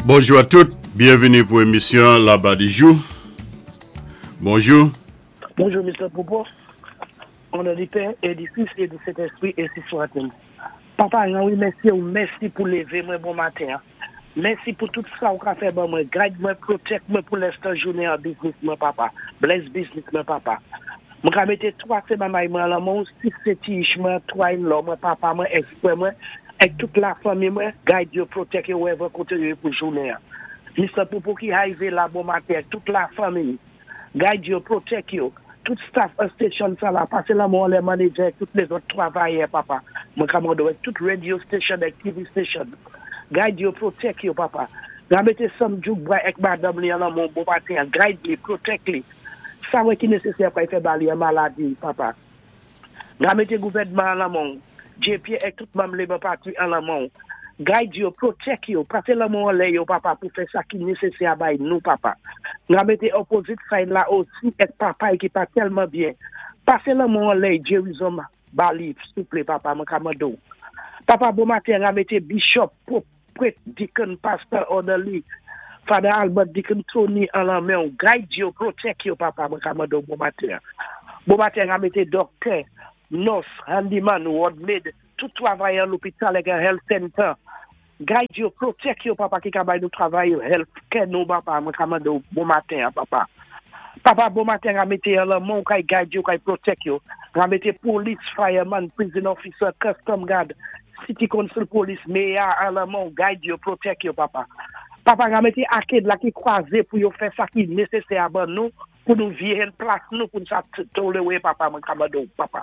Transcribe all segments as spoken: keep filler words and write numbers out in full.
Bonjou a tout, byenvini pou émisyon Laba di jou. Bonjou. Bonjou, Mister Popo. O non di Pè é di Fis é di Sentèspwi, ensi swat-il. Papa, wi, mèsi ou mèsi pou lévé mwen bon maten. Mèsi pou tout sa ou ka fè ban mwen. Guide mwen, protect mwen pou lèstan jounen an business mwen, papa. Bless business mwen, papa. Mwen ka mété twa sé manmay mwen lan men ou, sis sé ti ich mwen, twa in-law mwen, papa mwen, èk mwen, èk tout lafanmi mwen, guide yo, protect yo, wherever koté yo pou jounen. Mister Popo ki arivé la bon maten, tout lafanmi, guide yo, protect yo, tout staff an station sa la, pasé la men lè manager, tout lézòt twavayè, papa. Mwen ka mandé ou, tout radio station èk T V station. Guide yo, protect yo, papa. Ga mété Sam Djouk èk madanm li an lan men ou bon maten, guide li, protect li. Sa wè ki nésésè pou fè ba li an maladi, papa. Ga mété gouvèdman an lan men ou, J P èk tout manm Labour Party an lan men ou. Guide yo, protect yo, pasé la men anlè yo, papa, pou fè sa ki nésésè a bay nou, papa. Ga mété opposite side la osi èk papa ki pa tèlman byen. Pasé la men anlè Jerizom ba li, souplé, papa, mwen ka mandé ou. Papa, bon maten, ga mété bishop, pope, prèt, deacon, pastor, orderly, Father Albert, Deacon Tony an lan men ou. Guide yo, protect yo, papa, mwen ka mandé ou bon maten. Bon maten, ga mété doktè, nurse, handyman, ward maid, tout twavayè lopital èk health center. Guide yo, protect yo, papa, ki ka bay nou travay yo, health care nou, papa, mwen ka mandé ou bon maten, papa. Papa, bon maten, ga mété an lan men ou kay guide yo, kay protect yo. Ga mété police, fireman, prison officer, custom guard, city council police, mayor an lan men ou, guide yo, protect yo, papa. Papa, ga mété arcade la ki kwazé pou yo fè sa ki nésésè a ban nou, pou nou vyé plas nou, pou nou sa toléwé, papa, mwen ka mandé ou, papa.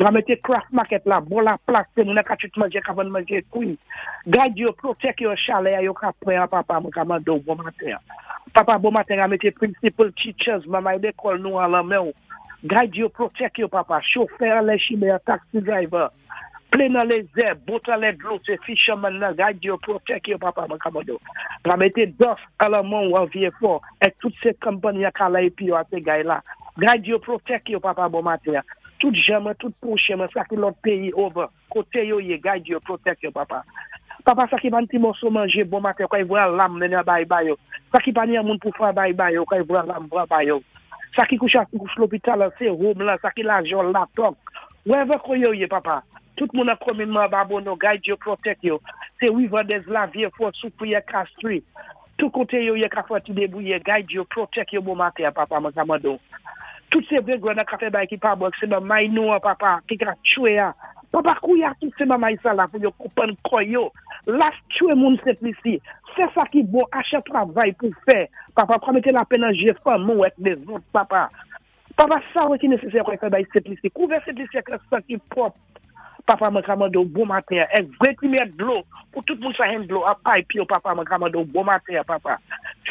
Ga mété craft market la, bon la plas, sé moun ka chit manjé, ka vann manjé kwi. Guide yo, protect yo, chalè yo ka pran, papa, mwen ka mandé ou, bon maten. Papa, bon maten, ga mété principal, teachers, manmay lékòl nou an lan men ou. Guide yo, protect yo, papa, chofè lè chimen, taxi driver. Plane nan lézè, boat an lè dlo, sé fisherman nan, guide yo, protect yo, papa, mwen ka mandé ou. Ga mété D O F an lan men ou an Vieux-Fort, èk tout sé konpayi ka la épi yo a sé gay la. Guide yo, protect yo, papa, bon maten. Tout jan mwen, tout pwochen mwen, sa ki lòt péyi over, koté yo yé, guide yo, protect yo, papa. Papa, sa ki pa ni ti mòso manjé, bon maten, kay vwa lam mennen bay bay yo. Sa ki pa ni an moun pou fwa bay bay yo, kay vwa lam vwa bay yo. Sa ki kouché kouché lopital, sé home la, sa ki la jol la tok. Wherever ko yo yé, papa. Tout moun an komin mwen Babonneau, guide yo, protect yo. Sé Riverdale la, Vieux-Fort, Soufrière, Castries. Tout koté yo yé ka fè ti débouye, guide yo, protect yo bon maten, papa, mwen ka mandé ou. Tout sé vwé gwan ka fè bay ki pa bon, sé manmay nou an, papa, ki ka tchwé a. Papa, kouya tout sé manmay sa la pou yo koupan koy yo. Las tchwé moun Sent Lisi. Fè sa ki bon, aché travay pou fè. Papa, pa mété lapèn nan jé fanmi ou èk lézòt, papa. Papa, sa wè ki nésésè kwa fè bay Sent Lisi. Kouvè Sent Lisi ak sa ki pwòp. Papa, mwen ka mandé ou bon maten. Èk vwé ti mèt dlo, pou tout moun sa hen dlo, a pipe yo, papa, mwen ka mandé ou bon maten, papa.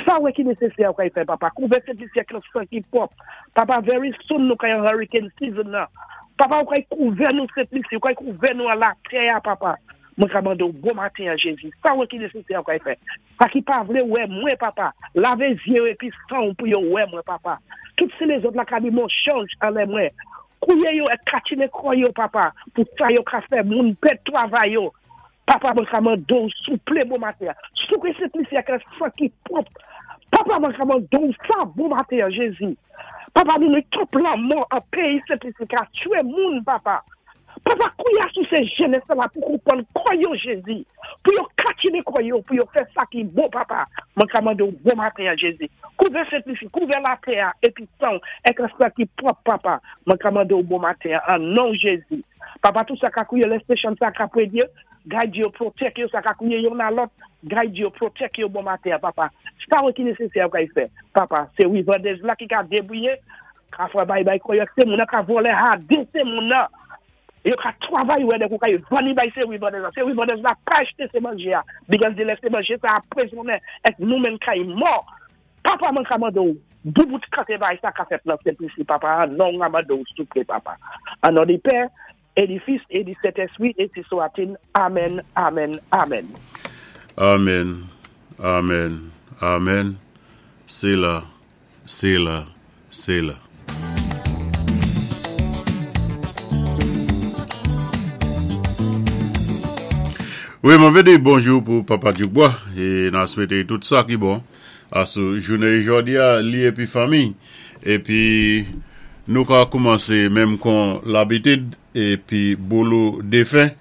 Sa wè ki nésésè kwa fè, papa. Kouvè Sent Lisi ak sa ki pwòp. Papa, very soon nou kay an hurricane season nan. Papa, ou kay kouvè nou Sent Lisi, ou kay kouvè nou a la tè, papa. Mwen ka mandé ou bon maten, Jésus. Sa wè ki nésésè kwa fè. Sa ki pa vlé wè mwen, papa. Lavé zyé épi san pou yo wè mwen, papa. Tout sé lézòt la ka di mon chanj anlè mwen. Kouye yo èk katine kò yo, papa, pou sa yo ka fè moun pèd twavay yo. Papa, mwen ka mandé ou souplé bon maten. Souké Sent Lisi ak san ki pwòp. Papa, mwen ka mandé ou sa bon maten, Jésus. Papa, nou nou twòp lanmò an péyi Sent Lisi ka tchwé moun, papa. Papa, kouya sou sé jenès la pou konpwann kò yo, Jésus. Pou yo katine kò yo, pou yo fè sa ki bon, papa. Mwen ka mandé ou bon maten, Jésus. Kouvè Sent Lisi, kouvè latè, épi san, èk sa ki pwòp, papa. Mwen ka mandé ou bon maten, an non Jésus. Papa, tout sa ka kouye lè station sa ka prédyé, guide yo, protect yo, sa ka kouye yo nan lòt, guide yo, protect yo bon maten, papa. Sa wè ki nésésè kay fè, papa. Sé Riverdale la ki ka débouye, ka fwa bay bay koyo, sé moun nan ka volè ha, sé moun nan. Yo ka travay wè de kou kay vani bay sé Riverdale la. Sé Riverdale la pa acheté sé manjé a. Because de lè sé manjé sa apwézonnen, èk nou menm kay mò. Papa, mwen ka mandé ou, boubout kate bay sa ka fèt nan Sent Lisi, papa. An non mwen mandé ou souplé, papa. An non di Pè, é di Fis, é di Sentèspwi, ensi swat-il. Amen, amen, amen. Amen, amen, amen. Séla, Séla, Séla. Wi, mwen vlé di bonjou pou Papa Djoukbois é n-a swété tout sa ki bon asou jounen jòdi-a, li épi fanmi. Épi nou ka koumansé menm kon labitid épi boulou défen.